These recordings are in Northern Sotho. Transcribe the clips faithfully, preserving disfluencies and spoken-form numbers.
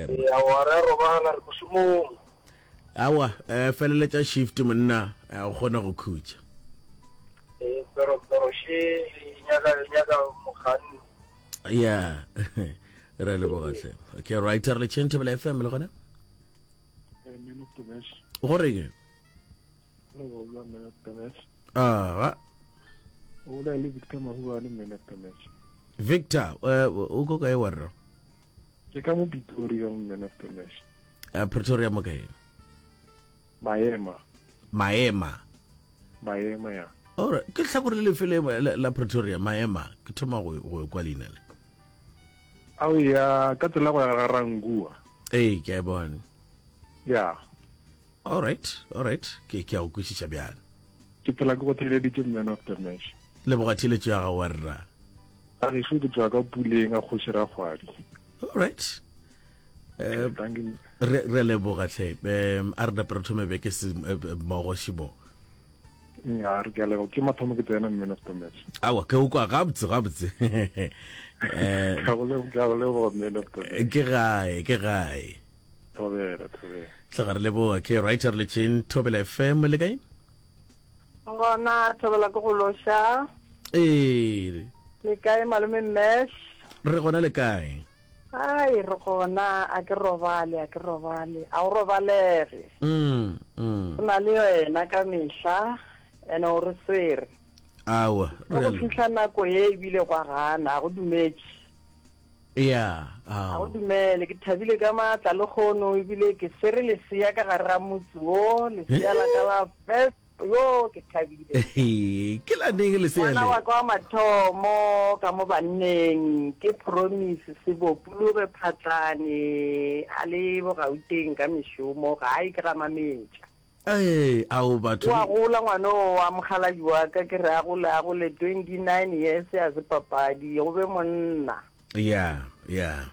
F M. Aowa, re a robala, re mošomong. Aowa, eh, feleletša shift monna, eh, o kgone go khutša. Ee, pero, pero še e nyaka, e nyaka mokganni. Ya, re a leboga hle. Okay, right, re le tšheng Thobela F M le gona? Man of the match. Go reng? Re bolela man of the match. Aga. O bolela le Victor Mahubane, man of the match. Victor, eh, o ko kae wa rra? Ke ka mo Pretoria, man of the match. Eh, Pretoria mo kae? Maema. Maema. Maema, ya. Alright, ke hlakore le lefe le, la, la Pretoria, Maema? Ke thoma go, go kwa leina le. Ao ya, ka tsela go ya ga Rangua. Ee, ke a e bona. Ya. All right, all right. Ke, ke a go kwešiša bjale. Ke phela ke go theeleditše man of the match. Leboga theeletšo ya gago wa rra. A gešo ke tšwa ka puleng a kgoši Rakgwadi. All right. Eh, Thank you. re, re leboga hle. Um, a re nape re thome beke se eh, mmogo šimo. Ya, re ke a leboga. Ke mathomo ke tsena man of the match. Aowa, ke o kwa gabotse, gabotse. Eh, Ke a go leboga, ke a go leboga man of the match. ke gae, ke gae. Thobela, thobela. Tloga re leboga. Ke right, re letšeng Thobela F M le kae? Gona Thobela ke go loša. Ee. Le kae malome Mesh? Re gona le kae? Ai, re gona, a ke robale, a ke robale. A o robalege. Mm, mm. Go na le wena ka mehla, ene o re swere. Aowa, Go re a go fihla nako ye ebile gwa gana, a go dumetše. Ya, A go ao. dumele, ke thabile ka maatla le kgono ebile ke swere lesea ka gare ga motse wo, lesea la ka la first, yo ke thabile. Ke la neng lesea Ngwana le? wa ka wa mathomo ka mo banneng ke Promise Sebopologe Phatlane, a le Bogauteng ka mešomo, gae ke ga Mametša. Ee, ao batho. Wa gola ngwana o wa mokgalabje wa ka, ke re a gole, a gole twenty-nine years a se papadi, go be monna. Ya, ya.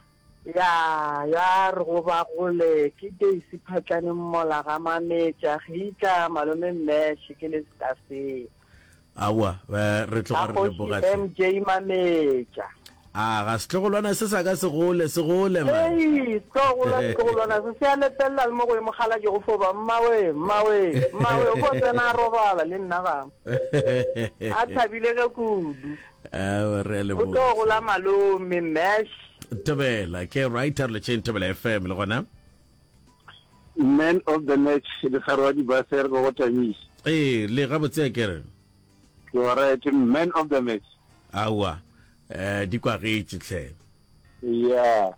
Ya, ya re go ba gole ke Daisy Phatlane mmola ga Mametša, Gitla, malome Mesh, ke le Stasea. Aowa, eh, re tloga Ga re kgoši leboga hle. M J Mametša. A ga setlogolwana se sa ka se gole, se gole man. Hei, setlogolwa, setlogolwana se se a lepelela le mo go ye mokgalabje go fo ba, mmawe, mmawe, mmawe, o fo tsena a robala le nna ga. A thabile ge kudu. Aowa, re a O leboga tlo gola hle. malome, Mesh. Thobela, ke right, re letšeng Thobela F M le gona. Man of the match, Lekgare wa dibase, re go go tamiša. Ee, le gabotse a ke re. Ke wa right, man of the match. Aowa, eh, di kwagetše hle. Ya.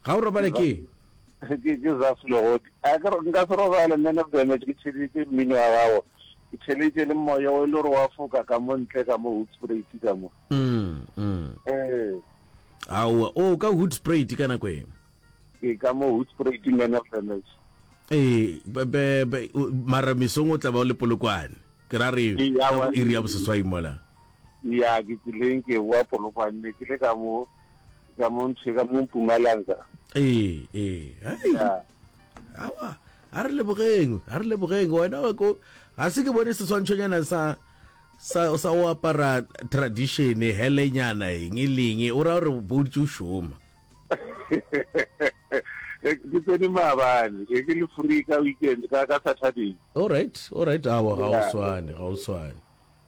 Ga o robale ke? Ke, ke Zaf Legodi. A ke re, nka se robale, man of the match, ke theeleditše mmino wa gago. Ke theeleditše le moya o e le gore wa foka ka mo ntle ka mo Hoedspruit ka mo. Mm, mm. Ee. Aowa, o ka Hoedspruit ka nako e? Ke ka mo Hoedspruit, man of the match. Ee, be, be, be, o, mara mesong o tla ba o le Polokwane. Ke ra re, Ee, ka aowa. bo iri ya boseswai mola. Ya, ke tseleng ke boa Polokwane, ne ke le ka mo, ka mo ntho, ka mo Mpumalanga. Ee, ee. Hei. Ya. Aowa, a re lebogeng, a re lebogeng. Wena wa ko, ga se ke bone seswantšhonyana sa, sa, sa o apara tradition, helenyana, eng le eng, o ra gore bo dutše o šoma. Ke tsene maabane, ke ke le free ka weekend, ka, ka Saturday. All right, all right. Aowa, ga o Ya. swane, ga o swane.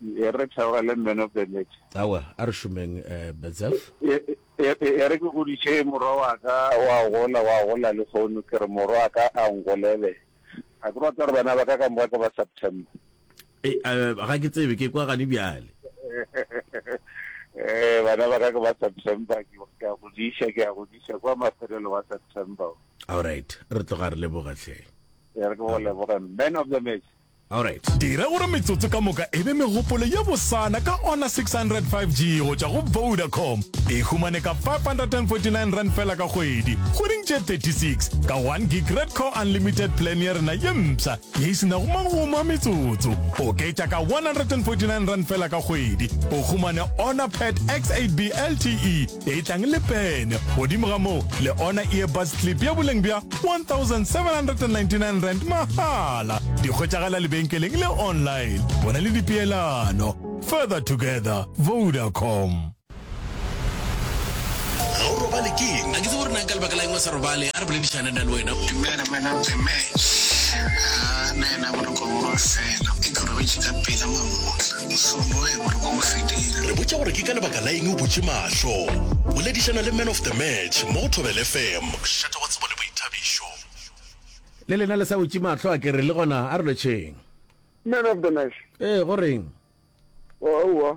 E re theogele man of the match. Aowa, a re šomeng, eh, Betsef. E, e, e, e re ke godiše morwa wa ka, wa gola, wa gola le kgono, ke re morwa wa ka a ngolele. A ke rata gore bana ba ka ka moka ke ba September. E, eh, ga ke tsebe, ke kwa gane bjale. Eh, bana ba ka ke ba September, ke, ke a godiša, ke a godiša kwa mafelelo wa September. All right, re tloga re leboga hle. E re ke go leboge, man of the match. All right. Dira gore metsotso ka moka e be megopolo ye bosana ka Honor six hundred five G go tšwa go Vodacom. E humane ka five hundred and forty-nine rand fela ka kgwedi, kgweding tše thirty-six, ka one gig Red Core Unlimited plan ya rena ye mpsha ye e se nago magomo a metsotso. Oketša ka one hundred and forty-nine rand fela ka kgwedi, o humane Honor Pad X eight B L T E e tlang le pene. Godimo ga moo, le Honor Earbuds Clip ya boleng bja one thousand seven hundred and ninety-nine rand mahala. Di hwetšagala lebenkeleng le online. Bona le dipeelano. Further together, Vodacom. Ga o robale keng? A ke tsebe gore na ka lebaka la eng o sa robale. A re boledišane nna le wena. Dumela man of the match. Ah, nna yena boroko bo fela. Ke robetše ka pela mamotla. Sono e boroko bo fedile. Re botša gore ke ka lebaka la eng o butše mahlo. Boledišana le man of the match mo go Thobela F M. Mošate wa tsebo le boithabišo. Le lena le sa butše mahlo a ke re le gona a re lotšheng. Man of the match. Ee, go reng? Aowa,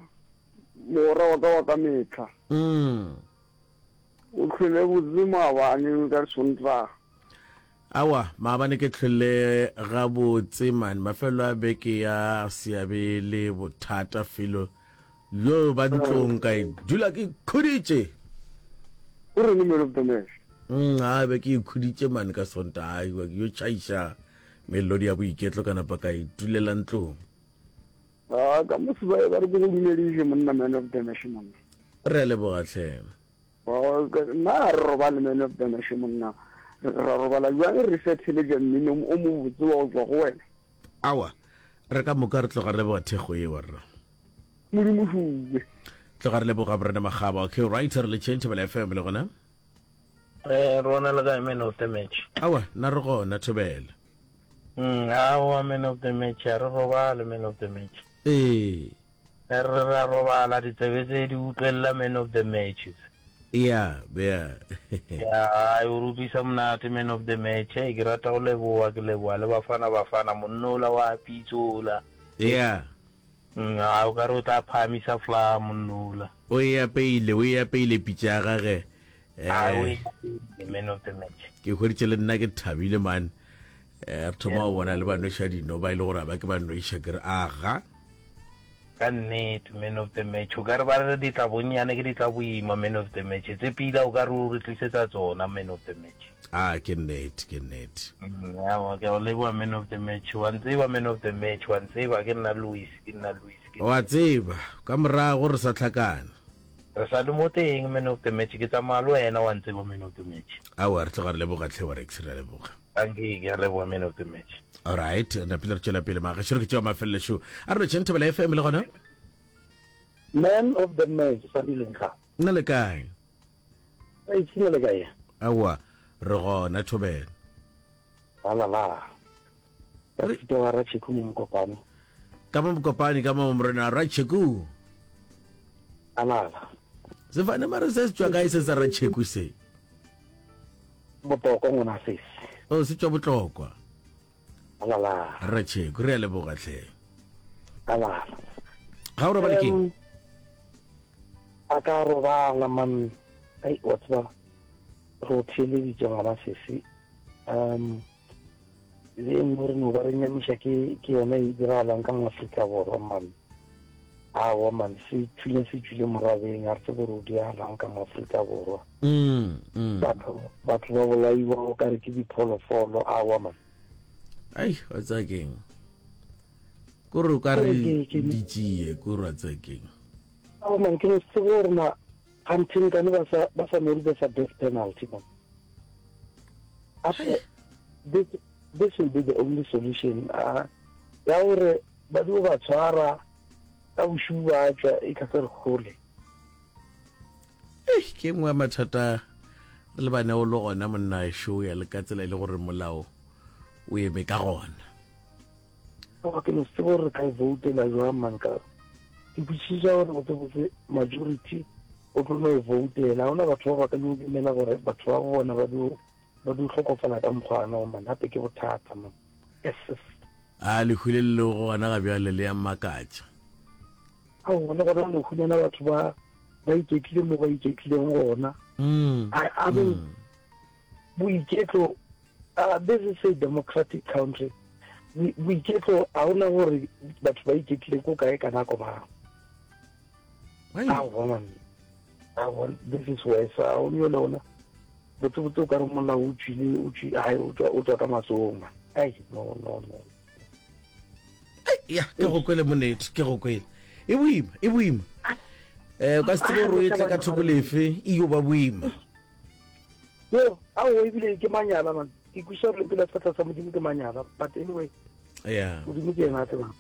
mogwera wa ka wa ka mehla. Mm. O hlwele botse maabane ka Sontaga. Aowa, maabane ke hlwele gabotse man. Mafelelo a beke ya seabe le bothata felo yo ba ntlong ka e dula ke khuditše. O reng man of the match? Mm, a be ke ikhuditše man ka Sontaga, ke yo tšhaiša melodi ya boiketlo ka napa ka itulela ntlong. Ah, ka mo sebae ba re ke go dumediše monna man of the match monna. Re a leboga hle. Nna ga re robale man of the match monna. Ra robala bjang re sa theletša mmino o mobotse wa go tšwa go wena? Aowa, re ka moka re tloga re leboga thekgo yeo rra. Modimo šuwe. Tloga re leboga Morena Makgaba. Okay, right, re letšeng Thobela F M le gona. Eh, rona le kae man of the match? Aowa, nna re gona Thobela. Mm, aowa man of the match, a re robale man of the match. Ee. Re re ra robala ditsebe tse di utlwelela man of the matches. Ya, ya. Ya, ai o re utlwisa monate man of the match. Hey, ke rata go leboa, ke leboa le Bafana Bafana monnola wa pitsola. Ya. Mm, a o ka re o tla phahamisa fla monnola. O e apeile, o e apeile pitša ya gage. A o Eh, e man of the match. Ke hweditše le nna ke thabile man. Eh, re thoma go bona le ba nweša dino ba ile gore a ba ke ba nweša ke re aga. Ka nnete man of the match, o ka re ba re ditla bonnyane ke ditla boima man of the match. Tse pila o ka re o re tlisetsa tsona man of the match. Ah, ke nnete, ke nnete. Mm, aowa, ke a o leboha man of the match. Wa ntseba man of the match, wa ntseba ke nna Louis, ke nna Louis. Ke Wa tseba, ka morago re sa hlakana. Re sa le mo teng man of the match, ke tsamaya le wena wa ntseba man of the match. Aowa, re tloga re leboga hle wa Rex, re a leboga. Dankie, ke a leboga man of the match. All right, napile re tšwela pele magešo re ke tšeo mafelelo. A re lotšheng Thobela F M le gona. Man of the match sa dileng ga. Nna le kae? Ei, tshina le kae? Aowa, re gona Thobela. La la la. Ka fita wa Ratšheku mo Mokopane. Ka mo Mokopane ka mo morena Ratšheku. Alala. Sefane mare se se tšwa kae se sa Ratšheku se? Botlokwa ngwana sesi. O se tšwa Botlokwa. Alala. Ratšheku re a leboga hle. Alala. Ga o robale keng? A ka robala man. Ai wa tseba re o theeleditše ngwana sesi. Um le e nngwe re no ba re nyamiša ke ke yona e diragalang ka mo Afrika Borwa man. Aowa man, se tšwile se tšwile morabeng, a re tsebe gore o diragalang ka mo Afrika Borwa. Mm, mm. Batho batho ba bolaiwa o kare ke dipholofolo, aowa man. Ai, wa tseba keng? Kore o ka re Ke- ke- ditšie, kore wa tseba keng? Aowa man, ke no se tsebe gore na kganthe nkane ba sa ba sa no rutesa death penalty man. Gape this this will be the only solution. Ah, ya gore ba dio ba tshwara ka bošubu ba tšwa e ka se re kgole. Ei, ke nngwe ya mathata re lebanego le gona monna ešo ya le ka tsela e le gore molao o eme ka gona. Aowa, ke no se tsebe gore re ka e voutela jwang man ka ke kwešiša gore botsebotse majority o tlo no e voutela. Ha hona batho ba ba ka no dumela gore batho ba bona ba dio ba dio hlokofala ka mokgwa ono man. Gape ke bothata man. Yes, yes. A lehu le le lego gona ga bjale le ya mmakatša. Aowa, le gona no humana batho ba ba iketlile mo ba iketlileng gona. Mm, I, I mean, mm. boiketlo, uh, this is a democratic country. Boiketlo ha hona gore batho ba iketlile ko kae ka nako mang. Ai. Aowa man. Aowa, this is worse. Ha o le yona. Botsebotse o ka re molao o tšwile, o tšwi-, hai, o tšwa, o tšwa ka matsogong man. Ai, no, no, no. Ai, ya, ke go kwele monete, ke go kwele. E boima, e boima. Eh, o ka se tsebe gore o e tle ka thoko lefe, e yo ba boima. Yo, aowa, ebile ke manyala man. Ke kwešiša gore pele sefatla sa Modimo ke manyala, but anyway, Yeah. Modimo ke yena a tsebang.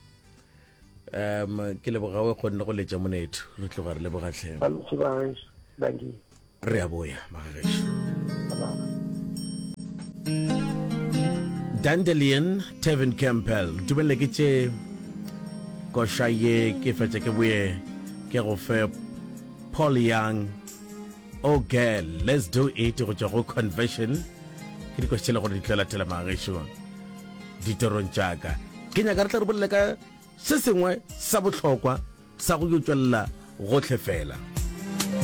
Um, ke leboga o kgonne go letša monetho. Re tloga re leboga tlhe. Ba lotšhe ba gešo. Dankie. Re a boya, magagešo. Dandelion, Tevin Campbell. Ntumelele ke tše koša ye ke fetše ke boye ke go fe Paul Young. Oh girl, let's do it go tšwa go Confession. Ke dikoša tše le gore di tlo latela magagešo ditorong tša ka. Ke nyaka re tle re bolele ka se sengwe sa bohlokwa sa go yo tšwelela gohle fela.